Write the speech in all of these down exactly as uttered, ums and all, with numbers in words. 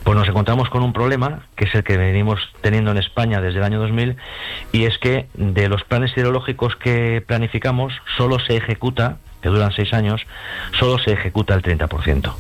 Pues nos encontramos con un problema, que es el que venimos teniendo en España desde el año dos mil, y es que de los planes hidrológicos que planificamos, solo se ejecuta, que duran seis años, solo se ejecuta el treinta por ciento.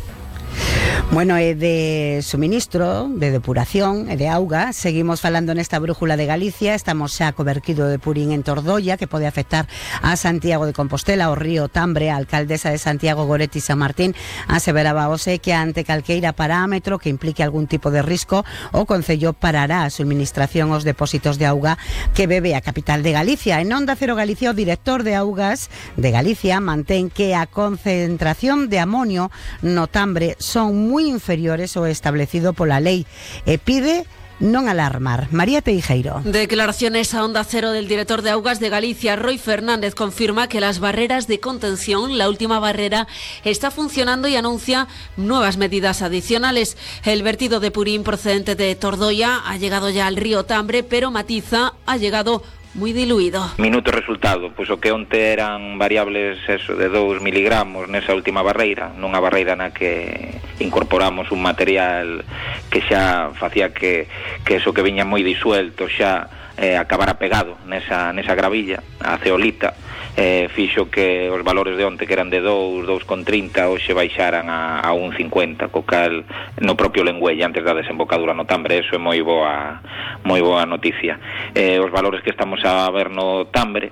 Bueno, e de suministro, de depuración e de auga, seguimos falando nesta brújula de Galicia. Estamos xa co verquido de Purín en Tordoia, que pode afectar a Santiago de Compostela, o río Tambre. A alcaldesa de Santiago, Goretti San Martín, aseveraba hoxe que ante calqueira parámetro que implique algún tipo de risco, o Concello parará a suministración aos depósitos de auga que bebe a capital de Galicia. En Onda Cero Galicia, o director de Augas de Galicia mantén que a concentración de amonio no Tambre son moi inferiores ao establecido pola lei e pide non alarmar. María Teijeiro. Declaraciones a Onda Cero del director de Augas de Galicia, Roy Fernández, confirma que las barreras de contención, la última barrera, está funcionando y anuncia nuevas medidas adicionales. El vertido de Purín procedente de Tordoia ha llegado ya al río Tambre, pero matiza, ha llegado moi diluído. Minuto resultado, pois o que onte eran variables eso de dous miligramos nesa última barreira, nunha barreira na que incorporamos un material que xa facía que, que eso que viña moi disuelto xa eh, acabara pegado nesa, nesa gravilla, a ceolita, eh, fixo que os valores de onte, que eran de dous, dous con trinta, hoxe baixaran a, a un cincuenta, co cal no propio Lengüelle, antes da desembocadura no Tambre. Eso é moi boa, moi boa noticia. Eh, os valores que estamos a ver no Tambre,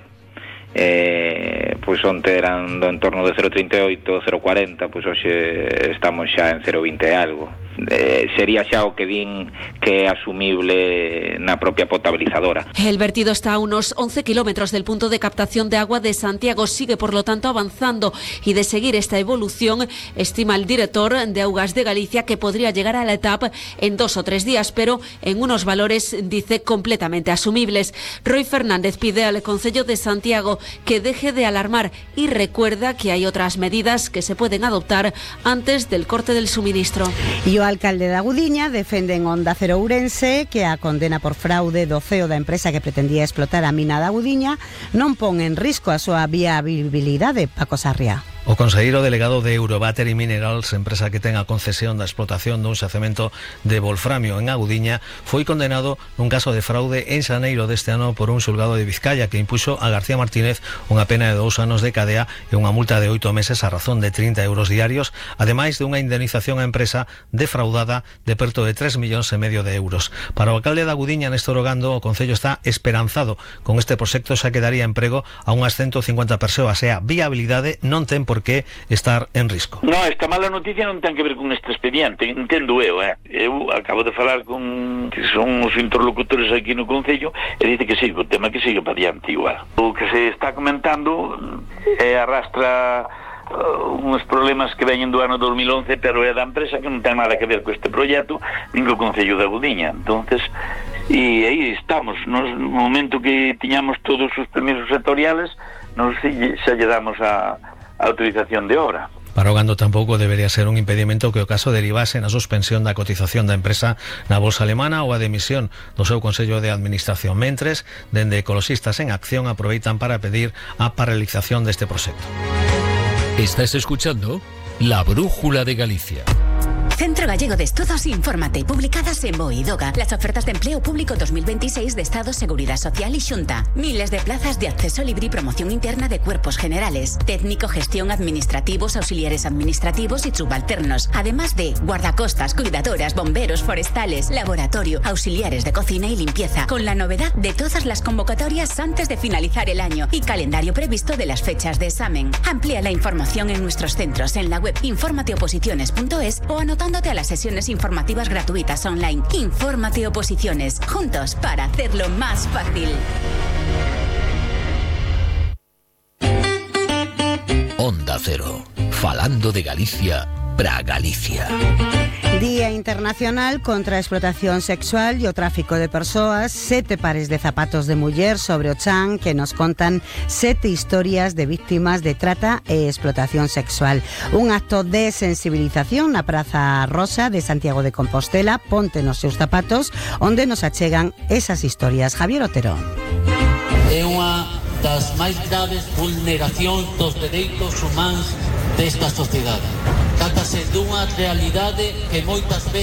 eh, pois onte eran do entorno de cero vírgula trinta e oito, cero vírgula cuarenta, pois hoxe estamos xa en cero vírgula vinte e algo. Eh, sería xa o que din que é asumible na propia potabilizadora. El vertido está a unos once kilómetros del punto de captación de agua de Santiago, sigue por lo tanto avanzando, y de seguir esta evolución, estima el director de Augas de Galicia que podría llegar a la etapa en dos o tres días, pero en unos valores, dice, completamente asumibles. Roy Fernández pide al Concello de Santiago que deje de alarmar y recuerda que hay otras medidas que se pueden adoptar antes del corte del suministro. Y o alcalde da Gudiña defende en Onda Cero Ourense que a condena por fraude do C E O da empresa que pretendía explotar a mina da Gudiña non pon en risco a súa viabilidade. Paco Sarria. O conselleiro delegado de Eurobattery Minerals, empresa que ten a concesión da explotación dun xacemento de wolframio en Agudiña, foi condenado nun caso de fraude en xaneiro deste ano por un xulgado de Vizcaya que impuxo a García Martínez unha pena de dous anos de cadea e unha multa de oito meses a razón de trinta euros diarios, ademais de unha indemnización á empresa defraudada de perto de tres millóns e medio de euros. Para o alcalde de Agudiña, Néstor Ogando, o Concello está esperanzado con este proxecto, xa que daría emprego a unhas ciento cincuenta persoas e a viabilidade non ten por que estar en risco. No, esta mala noticia non ten que ver con este expediente, entendo eu, eh? Eu acabo de falar con que son os interlocutores aquí no Concello e dice que sigue o tema, que sigue para diante igual. O que se está comentando é arrastra uh, uns problemas que veñen do ano dos mil once, pero é da empresa que non ten nada que ver co este proxecto, nin co Concello de Agudiña. Entonces, e aí estamos, no momento que tiñamos todos os permisos sectoriales, nos xa lle damos a a autorización de obra. Para Ogando tampouco debería ser un impedimento que o caso derivase na suspensión da cotización da empresa na bolsa alemana ou a demisión do seu Consello de Administración. Mentres, dende Ecoloxistas en Acción aproveitan para pedir a paralización deste proxecto. Estás escuchando La Brújula de Galicia. Centro Gallego de Estudos, infórmate. Publicadas en BOE y DOGA. Las ofertas de empleo público dos mil veintiséis de Estado, Seguridad Social y Xunta. Miles de plazas de acceso libre y promoción interna de cuerpos generales. Técnico, gestión, administrativos, auxiliares administrativos y subalternos. Además de guardacostas, cuidadoras, bomberos, forestales, laboratorio, auxiliares de cocina y limpieza. Con la novedad de todas las convocatorias antes de finalizar el año y calendario previsto de las fechas de examen. Amplía la información en nuestros centros en la web infórmateoposiciones punto es o anotándote a las sesiones informativas gratuitas online. Infórmate Oposiciones, juntos para hacerlo más fácil. Onda Cero, falando de Galicia para Galicia. Día Internacional contra a Explotación Sexual e o Tráfico de Persoas. Sete pares de zapatos de muller sobre o chan que nos contan sete historias de víctimas de trata e explotación sexual. Un acto de sensibilización na Praza Rosa de Santiago de Compostela. Ponte nos seus zapatos, onde nos achegan esas historias. Javier Otero. É unha das máis graves vulneracións dos dereitos humanos desta sociedade. Trátase dunha realidade que moitas veces